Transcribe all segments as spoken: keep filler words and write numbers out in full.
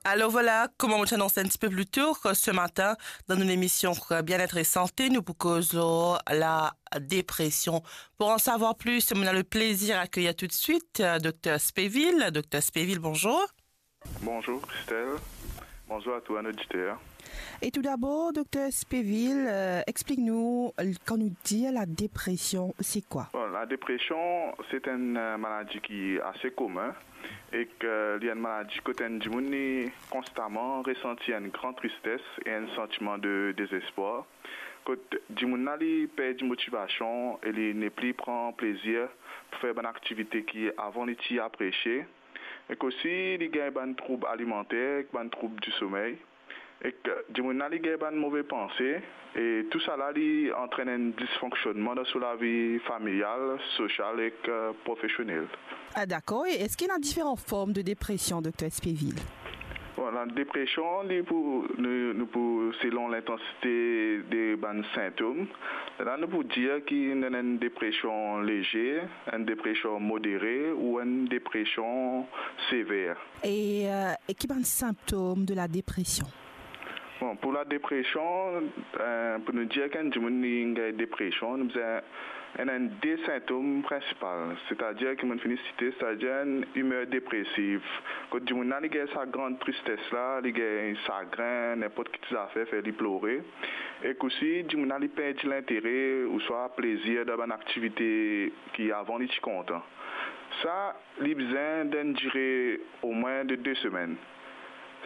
Alors voilà, comme on t'annonce un petit peu plus tôt, ce matin, dans une émission Bien-être et Santé, nous proposons la dépression. Pour en savoir plus, on a le plaisir d'accueillir tout de suite euh, Dr Spéville. Dr Spéville, bonjour. Bonjour Christelle, bonjour à tous nos auditeurs. Et tout d'abord, Dr Spéville, euh, explique-nous, euh, quand nous dit la dépression, c'est quoi? Bon, la dépression, c'est une euh, maladie qui est assez commune et que il y a une maladie que un dimoun li constamment ressenti une grande tristesse et un sentiment de désespoir. Kot dimoun la li perdi motivation et li ne plus prend plaisir pour faire une activité qui avant li ti apprécié. Ek osi, li gagn bann troub alimenter, ek bann troub di somey. Ek dimoun la, li gagn bann move panse. E tou sa la, li antrenn enn disfonksionnman dan so lavi familial, sosial ek euh, profesionel. Ah, d'accord. Et est-ce qu'il y a différentes formes de dépression, Dr Spéville? Bon, la dépression, li pou, nou, nou pou, selon l'intensité de bann sintom, la nou pou dir ki nou ena enn dépression léger, enn dépression modéré ou enn dépression sévère. Et, euh, et qui bann symptômes de la dépression? Bon, pour la dépression, euh, pour nous dire qu'un dimoun li gagn dépression, nou bizin ena enn de sintom prinsipal, c'est-à-dire ki mo fini site, c'est-à-dire une humeur dépressive. Kot dimoun la, li gagn sa grande tristesse la, li gagn sagrin, n'importe ki ti zafer, fer li plore. Ek osi, dimoun la, li perdi lintere ouswa plezir dan bann aktivite ki avan li ti kontan. Sa, li bizin d'enn dire omwin de de semenn.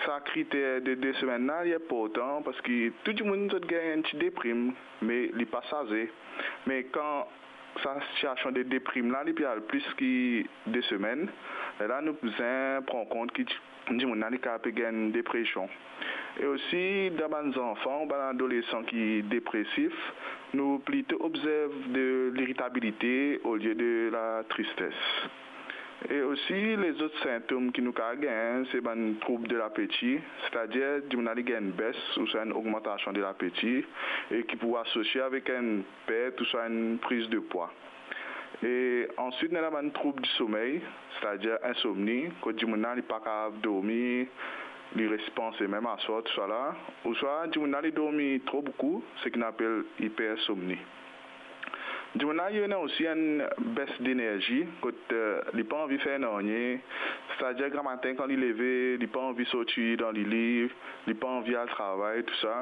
Sa kriter de de semenn la, li inportan parski tou dimoun zot gagn enn ti deprim, me li pa saze. Me kan sa sitiasion de deprim la, li pe al plis ki de semenn, lerla nou bizin pran kont ki dimoun la, li kapav pe gagn depresion. E osi, dan bann zanfan ou bann adolesan ki depresif, nou plito obzerv de liritabilite olie de la tristes. E osi, lezot sintom ki nou kapav gagn, se bann troub de lapeti, setadir dimoun la, li gagn enn bes ouswa enn ogmantasion de lapeti, e ki pou asosie avek enn pert ouswa enn priz de pwa. E answit, nou ena bann troub di somey, setadir insomni, kot dimoun la, li pa kapav dormi, li res panse mem aswar, tousala. Ouswa dimoun la, li dormi tro boukou, seki nou apel ipersomni. Dimoun la, li ena osi enn bes denerzi, kot, eh, li pa anvi fer nanye, setadir gramatin kan li leve, li pa anvi sorti dan lili, li pa anvi al travay, tousa.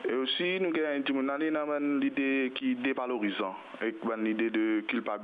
E osi, nou gagn dimoun la, li ena bann lide ki devalorizan, ek bann lide de kilpabilite.